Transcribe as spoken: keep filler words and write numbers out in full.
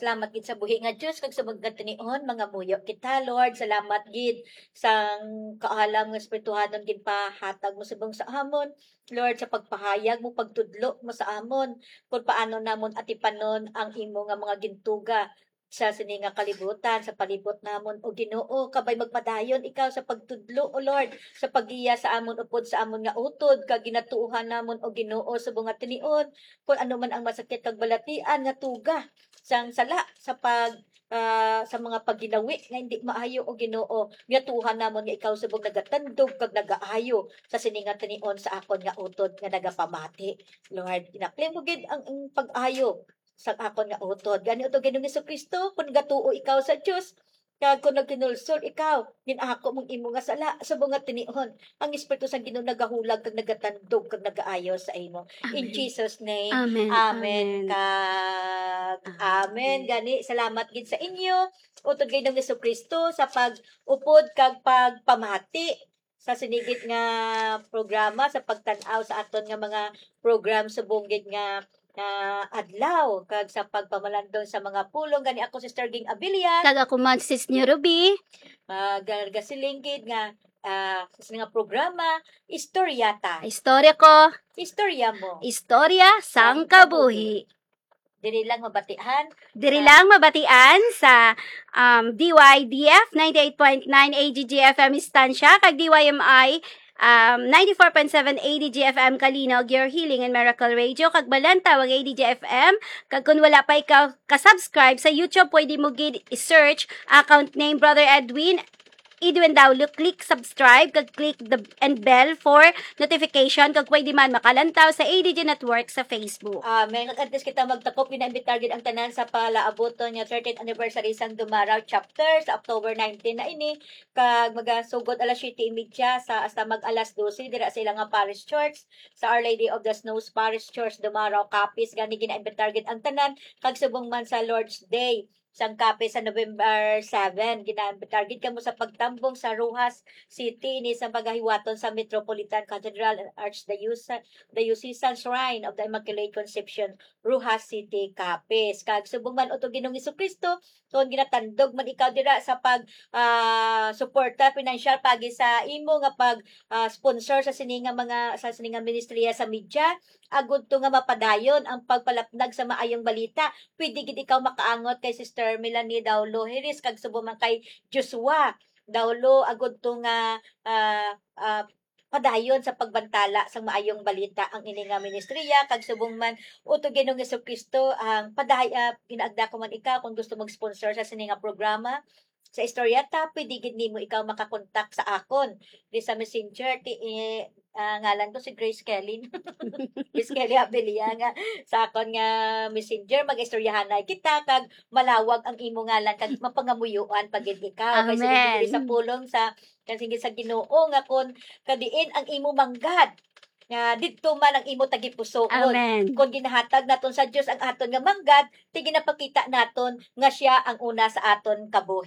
Salamat gid sa buhi nga Dios, kag sa mga tinion, mangamuyo kita, Lord. Salamat gid sang kaalam nga espirituhanon ginpahatag mo subong sa amon, Lord, sa pagpahayag mo, pagtudlo mo sa amon, kung paano namon atipanon ang imo nga mga gintuga sa sini nga kalibutan, sa palibot namon, O Ginoo, kabay magpadayon ikaw sa pagtudlo, O Lord, sa paggiya sa amon upod sa amon nga utod, kag ginatuohan namon, O Ginoo, subong nga tinion, kung ano man ang masakit kag balatian nga tuga sang sala sa pag, ah, sa mga pagginawi nga hindi maayo, O Ginoo, ginatuohan namon nga ikaw subong nagatandog kag nagaayo sa sini nga tinion sa akon nga utod nga nagapamati. Lord, inapli mo gid ang, ang pag-ayo sa akon nga utod. Gani, utod Ginoong Jesu-Cristo, kung gatuo ikaw sa Dios, kag kung nagkinulsol ikaw, gin-ako mong imo nga sala, subong nga tinion, ang Espiritu sang Ginoo nagahulag kag nagatandog kag nagaayo sa imo. In Amen. Jesus' name, Amen. amen Amen. kag Amen. amen. Gani, salamat gid sa inyo, utod Ginoong Jesu-Cristo, sa pag-upod kag pagpamati sa sini gid nga programa, sa pagtan-aw sa aton nga mga program subong gid nga, nga adlaw, kag sa pagpamalandong sa mga pulong. Gani ako, Sister Ging Abilia. Kag ako man, Sis New Ruby. Magasiling gid nga, ah, sa sini nga programa, Istorya Ta. Istorya ko. Istorya mo. Istorya sang Sang kabuhi. kabuhi. Diri lang mabatian. Diri Sa lang mabatian sa, um, D Y D F ninety-eight point nine A G G F M Estancia kag D Y M I, um, ninety-four point seven A D G F M Calinog, your healing and miracle radio, kag Balantawang A D G F M. Kag kung wala pa ikaw ka-subscribe sa YouTube, pwede mo gid i-search account name Brother Edwin Edwin Daulo, click subscribe, kag click the and bell for notification, kag pwede man makalantaw sa A D G Network sa Facebook. Amen. Kag antes kita magtakop, ginaimbitar gid ang tanan sa palaabuton nga thirtieth anniversary sang Dumaraw Chapter sa October nineteen na ini, kag magasugod alas siyete y media sa hasta mag alas dose dira sa ilang nga parish church, sa Our Lady of the Snows Parish Church, Dumaraw, Capiz. Gani ginaimbitar gid ang tanan, kag subong man sa Lord's Day sang Capiz sa November seven. Gina-target kamo sa pagtambong sa Roxas City, ini sa pagahiwaton sa Metropolitan Cathedral and Archdiocesan Shrine of the Immaculate Conception, Roxas City, Capiz. Kag subong man, utod Ginoong Jesu-Cristo, kung ginatandog man ikaw dira sa pag, ah, suporta pinansyal pagi sa imo nga pag, ah, sponsor sa sini nga mga, sa sini nga ministriya sa media, agud to nga mapadayon ang pagpalapnag sa maayong balita. Pwede gid ikaw makaangot kay Sister Melanie Daulo Heres kag subong man kay Joshua Daulo, agud to nga, ah, ah, padayon sa pagbantala sang maayong balita ang ini nga ministriya, kag subong man, utod Ginoong Jesu-Cristo, ang paday-, ah, ginaagda ko man ikaw kung gusto mag-sponsor sa sini nga programa, sa Istorya Ta, pwede gid nimo ikaw makakontak sa akon di sa Messenger. Ti, eh, ah, ngalan ko si Grace Kelly. Grace Kelly Abilia nga sa akon nga Messenger, mag-istoryahanay kita, kag malawag ang imo ngalan, kag mapangamuyoan pa gid ikaw. Kay sige, diri sa Amen. pulong sa, kag sige sa Ginoo, nga kon kadiin ang imo manggad, nga didto man ang imo tagipusoon. Amen. Kon ginahatag naton sa Dios ang aton nga manggad, ti ginapakita naton nga siya ang una sa aton kabuhi.